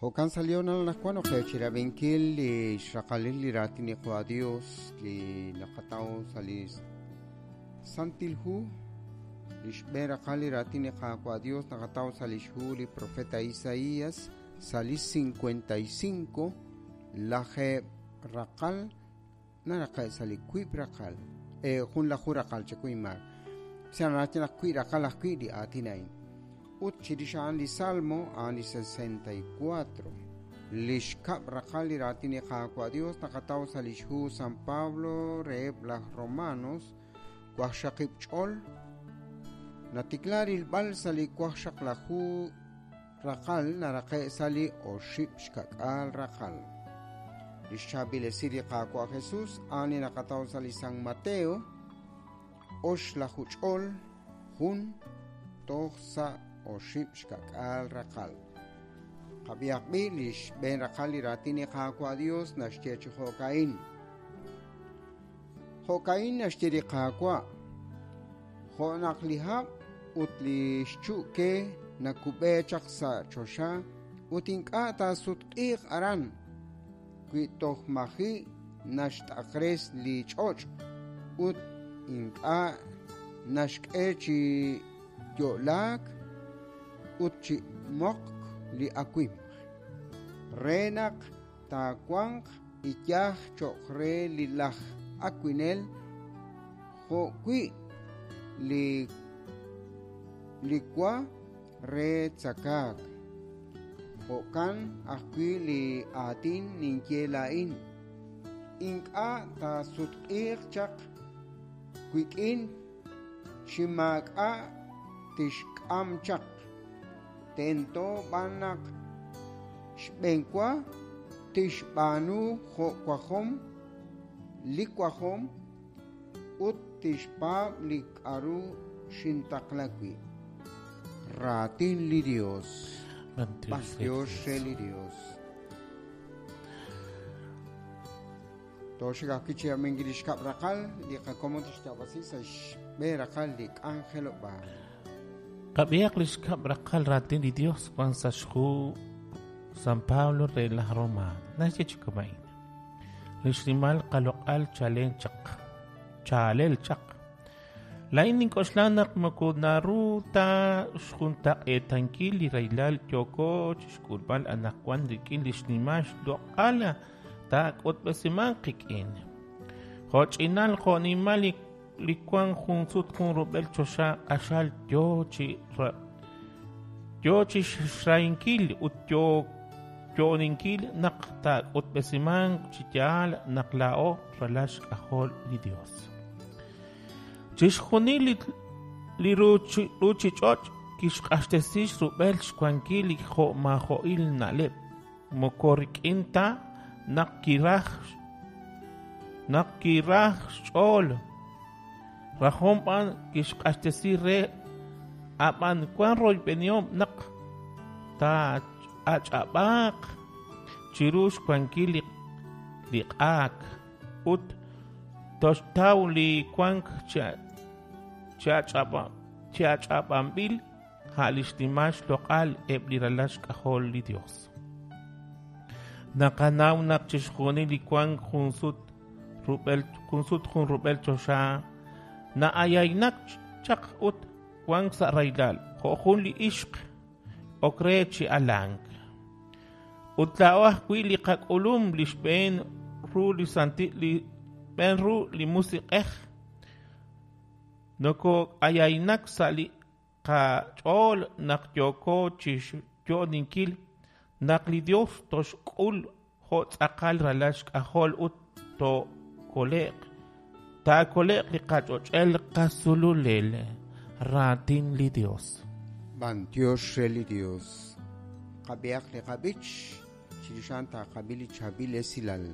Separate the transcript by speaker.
Speaker 1: Jo'kan sa' li hoonal anaqwan ok qe chirab'inkil li xraqalil li raatin li Qaawa' Dios li naqataw sa' li Santil Hu. Li xb'een raqal li raatin li Qaawa' Dios naqataw sa' lix hu li profeta Isaías sa' li 55 lajeeb' raqal naraqe' sa' li wiib' raqal junlaju raqal chakuy inmaak. Sa' naraj naq wiib' raqal ajwi' li aatin a'in. Ut chirix a'an li Salmo a'an li 64. Li xkab' raqal li raatin li Qaawa' Dios naqataw sa' lix hu San Pablo reheb' laj Romanos waqxaqib' ch'ol natikla rilb'al sa' li waqxaqlaju raqal naraqe' sa' li oxib' xka'k'aal raqal. Li xchaab'il esil li Qaawa' Jesus a'an li naqataw sa' li San Mateo oxlaju ch'ol jun toj sa' oxib' xka'k'aal raqal. Qab'ihaq b'i' li xb'een raqal li raatin li Qaawa' Dios naxye chi jo'ka'in. Jo'ka'in naxye li Qaawa', jo' naq li hab' ut li xchu'ke nakub'e chaq sa' choxa ut ink'a' taasutq'iiq aran wi toj maji' naxt'aqres li ch'och' ut ink'a' naxk'e chi yo'laak ut chi moqk li awimq, re naq taawanq iyaj cho'q re li laj awinel jo'wi' li li wa re tzakaak. Jo'kan ajwi' li aatin ninye laa'in, ink'a' taasutq'iiq chaq wik'in chi maak'a' tixk'am chaq. Tento b'an naq xb'eenwa tixb'aanu jo' wajom li wajom ut tixpaab' li k'aru xintaqla wi'. Raatin li Dios. B'antiox re li Dios. Tooxik ajwi' chi rab'inkil li xkab' raqal li qakomon tixyaab'asi sa' xb'een raqal li k'anjelob'aal.
Speaker 2: Qab'ihaq li xkab' raqal raatin li Dios wan sa' xhu San Pablo re laj Roma. Naxye chi kama'in. Li xnimal qaloq'al chalen chaq. Chaalel chaq. Laa'in nink'oxla naq moko naru ta xjuntaq'eetankil li rahilal yooko chixk'ulb'al anaqwan rik'in li xnimal xloq'al taak'utb'esimanq qik'in. Jo' ch'inal jo' nimal li wank jun sut jun rub'el choxa q'axal yoo chi yoo chi xrahinkil ut yoo yo'oninkil naq taak'utb'esimanq chi yaal naq laa'o ralal xk'ajol li Dios. Chixjunil li ruuchich'och' kixq'axtesi xrub'el xwankil li jo'maajo'il na'leb', moko rik'in ta naq kiraj naq kiraj xch'ool, rajom b'an kixq'axtesi re, ab'an wan royb'enihom naq taa'ach'ab'aaq chiru xwankil li q'aak ut toxtaw li wank chi ach'ab'anb'il a' li xnimal xloq'al eb' li ralal xk'ajol li Dios. Naqanaw naq chixjunil li wank jun sut rub'el jun sut jun rub'el choxa na'ayaynak chaq ut wank sa' rahilal jo' jun li ixq ok re chi alank. Ut laa'o ajwi' li qak'ulum li xb'een ru li santi li xb'een ru li musiq'ej noko'ayaynak sa' li qach'ool naq yooko chi xyo'oninkil naq li Dios toxk'ul jo' tz'aqal ralal xk'ajol ut tookole'q taakole'q li qach'och'el qasululel raatin li Dios.
Speaker 1: B'antiox re li Dios. Qab'ihaq li qab'ich chirix a'an taaqab'i li chaab'il esilal.